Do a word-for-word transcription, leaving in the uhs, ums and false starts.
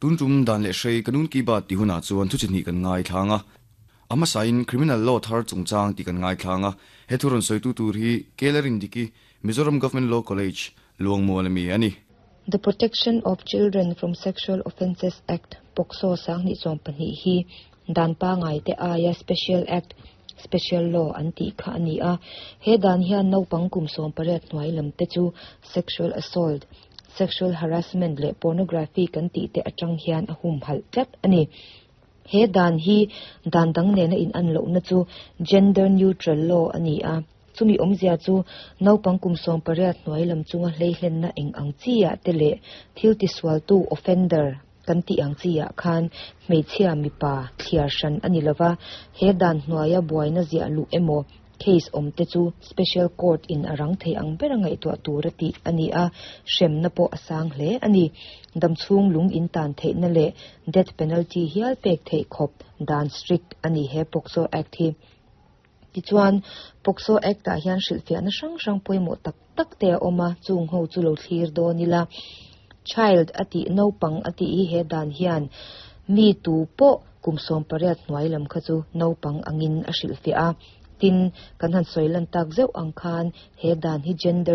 Tun tum dan leh hrei kanun ki baat ti hunah chuan thu chi hnih kan ngaithla ang a. A hmasain criminal law thar chungchang tih kan ngaithla ang a. He thu rawn sawitu tur hi Kelarin Diki, Mizoram Government Law College, Luangmual ami a ni. The Protection of Children from Sexual Offences Act, POCSO sanghnih sawm pahnih hi dan pangai te aia Special Act, Special Law an tih kha a ni a. He dan hian naupang kum sawm pariat hnuai lam te chu sexual assault, sexual harassment leh pornography kan tih te atang hian a hum halh tlat a ni. He dan hi dan dang nena in an lohna chu gender neutral law a ni a. Chumi awmzia chu naupang kum sawm pariat hnuai lam chunga hleihlenna eng ang chiah te leh thil tisualtu offender kan tih ang chiah khan hmeichhia mipa thliar hran a ni lova. He dan hnuaia buaina ziah luh emaw case awm te chu special court in a rang thei ang ber a ngaihtuah tur a tih a ni a. Hremna pawh a sang hle a ni. Damchhung lung in tan theihna leh death penalty hial pek theih khawp dan strict a ni he POCSO Act hi. Tichuan POCSO Act ah hian hrilhfiahna hrang hrang pawimawh tak tak te a awm a, chung ho chu lo thlir dawn ila. Child a tih naupang a tih hi he dan hian mi tu pawh kum sawm pariat hnuai lam kha chu naupang angin a hrilhfiah a. Tin kan han sawi lan tak zeuh ang khan he dan hi gender